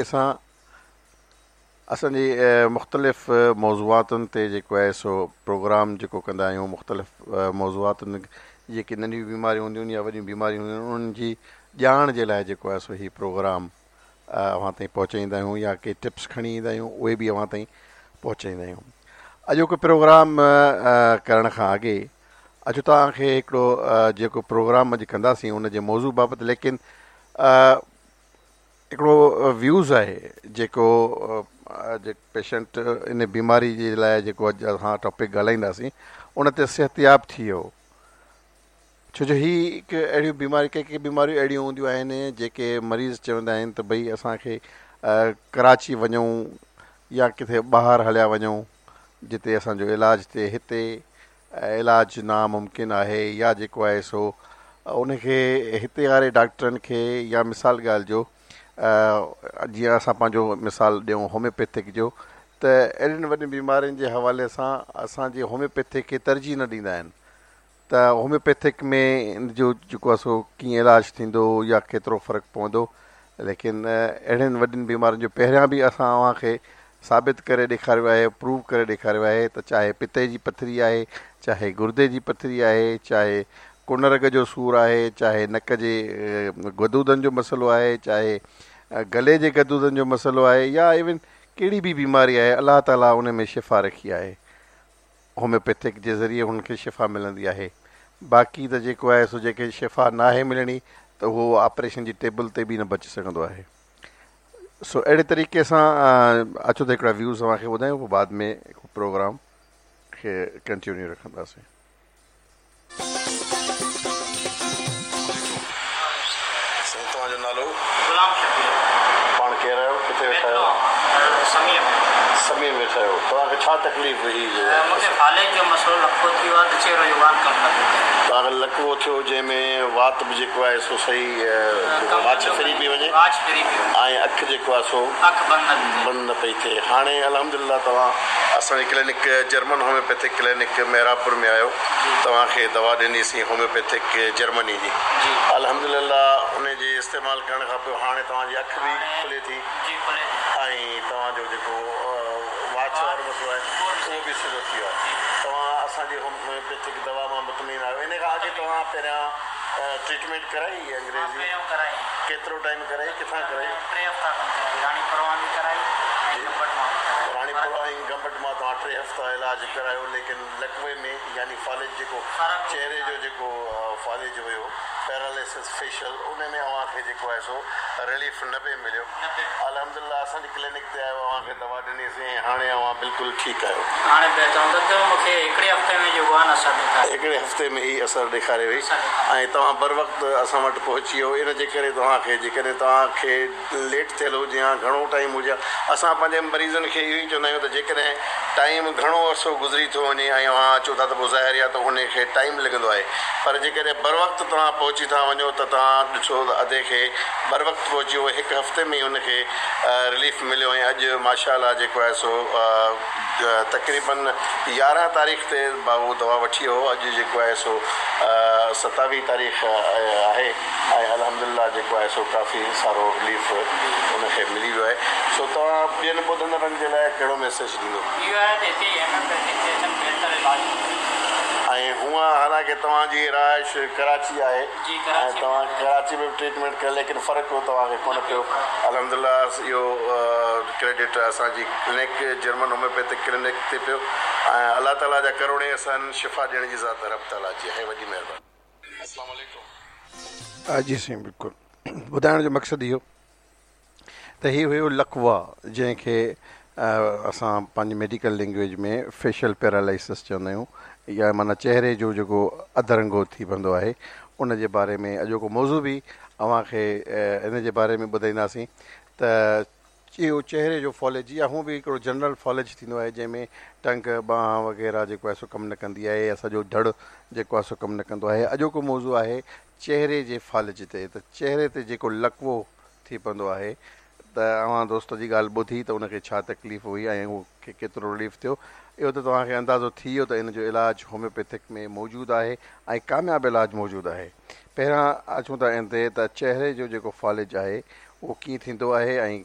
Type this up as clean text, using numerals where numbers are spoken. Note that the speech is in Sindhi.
سان اسان جي مختلف موضوعاتن تي جيڪو آهي سو پروگرام جيڪو ڪندا آهيون مختلف موضوعاتن جيڪي ننڍيون بيماريون هونديون آهن يا وڏيون بيماريون هونديون آهن انهن جي ڄاڻ جي لاء جيڪو آهي سو هي پروگرام اوهان تائين پهچائيندا آهيون يا ڪي ٽپس کڻي ايندا آهيون اهي به اوهان تائين پهچائيندا آهيون اڄوڪو پروگرام ڪرڻ کان اڳي اچو توهان کي هڪڙو جيڪو پروگرام اڄ ڪنداسين ان جي موضوع بابت ليڪن هڪڙو ويوز آهي جيڪو پيشنٽ ان بيماري جي لاء جيڪو اڄ اسان ٽاپڪ ڳالهائينداسين ان تي صحتياب ٿي ويو ڇو جو هي هڪ اهڙيون بيماري ڪي ڪي بيماريون اهڙيون هونديون آهن جيڪي مريض چوندا آهن ته ڀئي اسانکي ڪراچي وڃون يا ڪٿي ٻاهر هليا وڃون جتي اسانجو علاج ٿئي هتي علاج ناممڪن آهي يا جيڪو آهي سو ان کي هتي واري ڊاڪٽرن کي يا مثال ڳالهه جو جيئن اسان پنهنجو مثال ڏيون هوميوپيٿڪ جو ته اهڙين وڏين بيمارين جي حوالي سان اسان جي هوميوپيٿڪ کي ترجيح نه ڏيندا آهن ته هوميوپيٿڪ ۾ ان جو جيڪو آهي سو ڪيئن علاج ٿيندو يا ڪيترو فرق پوندو ليڪن اهڙين وڏين بيمارين جو پهريان به اسان اوهان کي ثابت ڪري ڏيکاريو آهي، پروو ڪري ڏيکاريو آهي ته چاهي پتي جي پٿري آهي، چاهي گردي جي پٿري آهي، چاهي ڪن رڳ جو سور آهي، چاهي نڪ جي غدودن جو مسئلو آهي، چاهي گلي جي غدودن جو مسئلو آهي يا ايون ڪهڙي به بيماري آهي الله تعالي ان ۾ شفا رکي آهي. هوميوپيٿڪ جي ذريعي هن کي شفا ملندي آهي. باقي ته جيڪو آهي سو جنهن کي شفا ناهي ملڻي ته اهو آپريشن جي ٽيبل تي به نه بچي سگهندو آهي. سو اهڙي طريقي سان اچو ته هڪڙا ويوز اوهان کي ٻڌايون پوء بعد ۾ پروگرام کي ڪنٽينيو رکنداسين. سائين توهان جو نالو؟ غلام شبير. پاڻ ڪير آهيو؟ ڪٿي ويٺا آهيو؟ سميع ۾. سميع ۾ ويٺا آهيو. توهان کي ڇا تڪليف هئي؟ مون کي فالج جو مسئلو لقوو ٿي ويو آهي ته چهرو يوان ڪم نه پيو ڪري. توهان کي لقوو ٿيو جنهن ۾ وات به جيڪو آهي سو صحيح واڇ ڦري پئي وڃي واڇ ڦري پئي وڃي ۽ اک جيڪو آهي سو اک بند نه پئي ٿئي. بند نه پئي ٿئي. هاڻي الحمدلله توهان اسان جي clinic German homeopathic clinic Mehrabpur ۾ آهيو. توهان کي دوا ڏني سين هوميوپيٿڪ جرمني جي الحمدلله ان جي استعمال ڪرڻ کان پوء هاڻي توهان جي اک به کلي ٿي ۽ توهان جو جيڪو واڇ وارو مسئلو آهي اهو به سڌو ٿي ويو آهي توهان اسان جي هوميوپيٿڪ دوا مان مطمئن آهيو ان کان اڳي توهان پهريان ٽريٽمينٽ ڪرائي انگريزي ڪيترو ٽائيم ڪرائي ڪٿان ڪرائي راڻيپور ۽ گمبٽ مان توهان ٽي هفتا علاج ڪرايو ليڪن لقوي ۾ يعني فالج جيڪو چهري جو جيڪو فالج هيو پيراليسس فيشل ان ۾ اوهان کي جيڪو آهي سو رليف نه پئي مليو الحمدلله اسان جي ڪلينڪ تي آيو اوهان کي دوا ڏني سين ۽ هاڻي اوهان بلڪل ٺيڪ آهيو. هاڻي بهتر آهيان ته مون کي هڪڙي هفتي ۾ جيڪو آهي نه اثر ڏيکاري. هڪڙي هفتي ۾ ئي اثر ڏيکاري وئي ۽ توهان بروقت اسان وٽ پهچي ويو ان جي ڪري توهان کي جيڪڏهن توهان کي ليٽ ٿيل هجي ها گهڻو ٽائيم هجي ها اسان پنهنجي مريضن کي اهو ئي چوندا آهيون ته جيڪڏهن ٽائيم گهڻو عرصو گذري ٿو وڃي ۽ اوهان اچو ٿا ته پوء ظاهر آهي ته ان کي ٽائيم لڳندو آهي پر جيڪڏهن بروقت توهان پهچي ٿا وڃو ته توهان ڏٺو ته ادي کي بروقت پهچي ويو هڪ هفتي ۾ ئي ان کي رليف مليو ۽ اڄ ماشاء الله جيڪو آهي سو تقريبن 11 تاريخ تي اهو دوا وٺي ويو هو اڄ جيڪو آهي سو 27 تاريخ آهي ۽ الحمدلله جيڪو آهي سو ڪافي سارو رليف ان کي ملي ويو آهي سو توهان ٻين ٻڌندڙن جي لاء ڪهڙو ميسيج ڏيندو؟ اهو آهي ته هتي هوميوپيٿڪ تي اچن بهتر علاج ٿيندو. ۽ هونء حالانڪه توهان جي رهائش ڪراچي آهي ۽ توهان ڪراچي ۾ به ٽريٽمينٽ ڪئي ليڪن فرق توهان کي ڪونه پيو الحمدلله اهو ڪريڊٽ اسان جي ڪلينڪ جرمن هوميوپيٿڪ ڪلينڪ تي پيو ۽ الله تعالي جا ڪروڙين احسان شفا ڏيڻ جي ذات رب تعالي جي آهي وڏي مهرباني. اسلام عليڪم. جي سائين بلڪل ٻڌائڻ جو مقصد اهو ته هي هيو لقوه جنهن کي اسان پنهنجي ميڊيڪل لينگويج ۾ فيشل پيرالائسس چوندا آهيون يا معنيٰ چهري جو جيڪو اڌ رنگو ٿي پوندو آهي ان جي باري ۾ اڄوڪو موضوع به اوهان کي ان جي باري ۾ ٻڌائينداسين ته اهو چهري جو فالج يا هونء به هڪڙو جنرل فالج ٿيندو آهي جنهن ۾ ٽنگ، ٻانهن وغيره جيڪو آهي سو ڪم نه ڪندي آهي يا سڄو ڌڙ جيڪو آهي سو ڪم نه ڪندو آهي. اڄوڪو موضوع آهي چهري جي فالج تي ته چهري تي جيڪو لقوو ٿي پوندو آهي ته اوهان دوست جي ڳالهه ٻڌي ته ان کي ڇا تڪليف هئي ۽ ان کي ڪيترو رليف ٿيو اهو ته توهان کي اندازو ٿي ويو ته ان جو علاج هوميوپيٿڪ ۾ موجود آهي ۽ ڪامياب علاج موجود آهي. پهريان اچون ٿا ان تي ته چهري جو جيڪو فالج آهي اهو ڪيئن ٿيندو آهي ۽